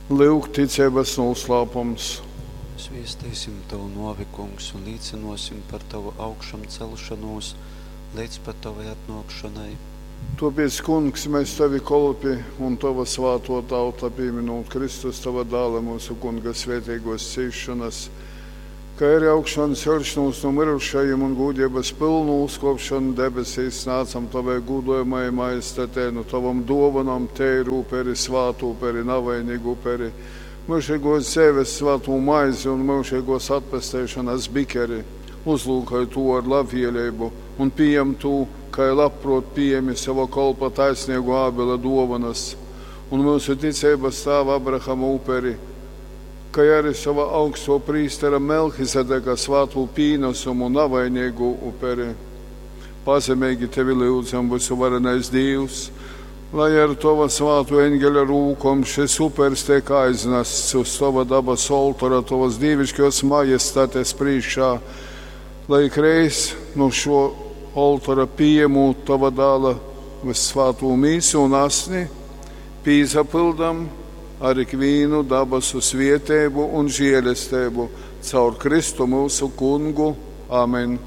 Lyuk ticeibas nūslāpums. Sviesteisim tovu nuovi, Kungs, un līcynuosim par tovu augšamceļšonūs leidz pat tovai atnuokšonai. Tuopiec, Kungs, mes, tovi kolpi un tova svātuo tauta, pīminūt Kristus, tova Dāla, myusu Kunga svēteiguos cīsšonas, kai ari augšanceļšonūs nu myrušajim un gūdeibas pylnu uzkuopšonu debesīs, snādzam tovai gūdojamai majestatei nu tovom duovonom teiru uperi, svātu uperi, navainīgu uperi, myužeiguos dzeives svātū maizi un myužeiguos atpesteišonas bikeri. Uzlūkoj tū ar labvieleibu un pījam tū, kai labpruot pījemi sova kolpa taisneiguo Ābela duovanas un myusu ticeibas tāva Abrahama uperi, kai ari sova augstuo prīstera Melhizedeka svātū pīnasumu, navainīgū uperi. Pazemeigi tevi lyudzam, vysuvarenais Dīvs, lai ar tova svātuo eņgeļa rūkom šys upers teik aiznasts uz tova dabas oltora, tovas dīviškuos majestates prīškā, lai ikreiz nu šuo oltora pījemūt tova dāla vyssvātū mīsu un asni, pīsapyldam ar ikvīnu dabasu svieteibu un žielesteibu caur Kristu myusu Kungu. Amen.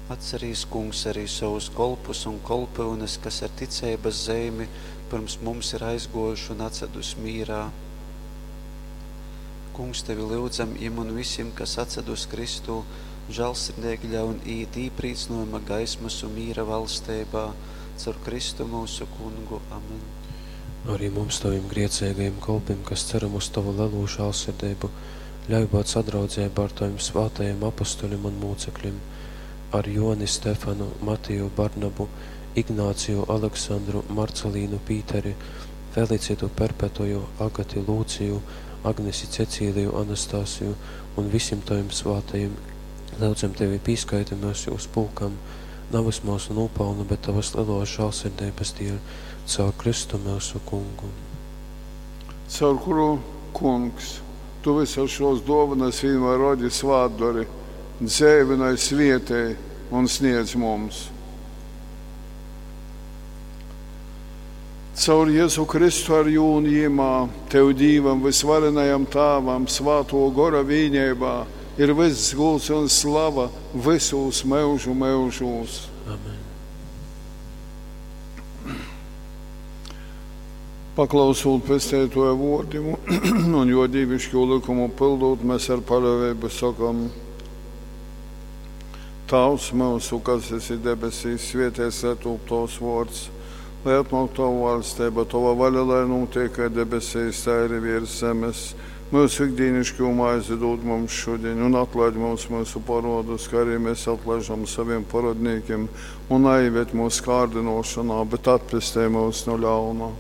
Atcerīs, Kungs, arī sovus kolpus un kolpyunes, kas ar ticeibas zeimi pyrms mums ir aizguojuši un atsadus mīrā. Kungs, tevi lyudzam, jim un visim, kas atsadus Kristū, žālsirdeigi ļaun īīt īprīcynojuma gaismas un mīra valsteibā, caur Kristu myusu Kungu. Amen. Arī mums, tovim grēcīgajiem kolpim, kas ceram uz tovu lelū žālsirdeibu, ļauj būt sadraudzeibā ar tovim svātajiem apustuļim un mūcekļim, ar Joni Stefanu, Matiju Barnabu, Ignāciju Aleksandru, Marcelīnu Pīteri, Felicitu Perpetuju, Agati Lūciju, Agnesi Cecīliju Anastasiju un visim tovim svātajim. Lyudzam tevi, pīskaiti myus jūs pulkam, navys myusu nūpalnu, bet tovas leluos žālsirdeibas dieļ, caur Kristu myusu Kungu. Caur kuru, Kungs, tu visas šos dovanas vienmēr rodi svātdori, dzeivynoj, svietej un sniedz mums. Caur Jezu Kristu ar jū un jimā, tev Dīvam vysvarenajam Tāvam, svātuo gora vīneibā, ir vyss gūds un slava vysūs myužu myužūs. Amen. Paklausūt Pesteituoja vuordim un juo dīviškū lykumu pyldūt, mes ar paļuoveibu sokam: Tāvs myusu, kas esi debesīs, svietēts lai tūp tovs vuords, lai atnuok tova vaļsteiba, tova vaļa, lai nūtiek kai debesīs, tai arī viers zemes. Myusu ikdīniškū maizi dūd mums šudiņ, un atlaid mums myusu porodus, kā arī mēs atlaižam saviem porodnīkiem, un naieved mūsu kārdinošanā, bet atpestej mūs no ļauna.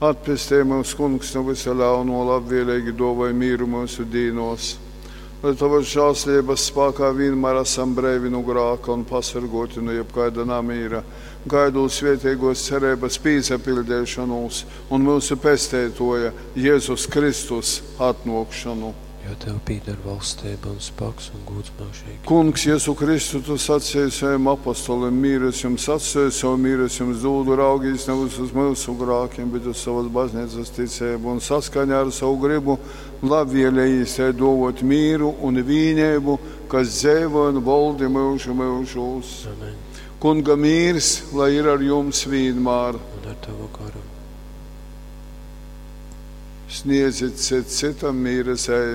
Atpestej mūs, Kungs, no visa ļauno, labvēlīgi dāvāj mīru mūsu dīnos. Lai tavas žēlstības spēkā vienmēr esam breivi no grāka un pasargoti no jebkaida namīra, gaidot svētīgos cerības pīsapildīšanos un mūsu pesteitoja Jēzus Kristus atnākšanu. Jo tev pīder valstība un spēks un gūds mūžīgi. Kungs, Jēzu Kristu, tu sacīji saviem apostoliem, mīru es jums atstāju, savu mīru es jums dodu, raugīs nevis uz mūsu grākiem, bet uz savas baznīcas ticību un saskaņā ar savu gribu labvēlējīs tai dovot mīru un vīnību, kas dzeivo un valdi mūžu mūžūs. Amen. Kunga mīrs, lai ir ar jums vienmēr. Un ar tavu garu. Sniedzit cits citam mīra zeimi.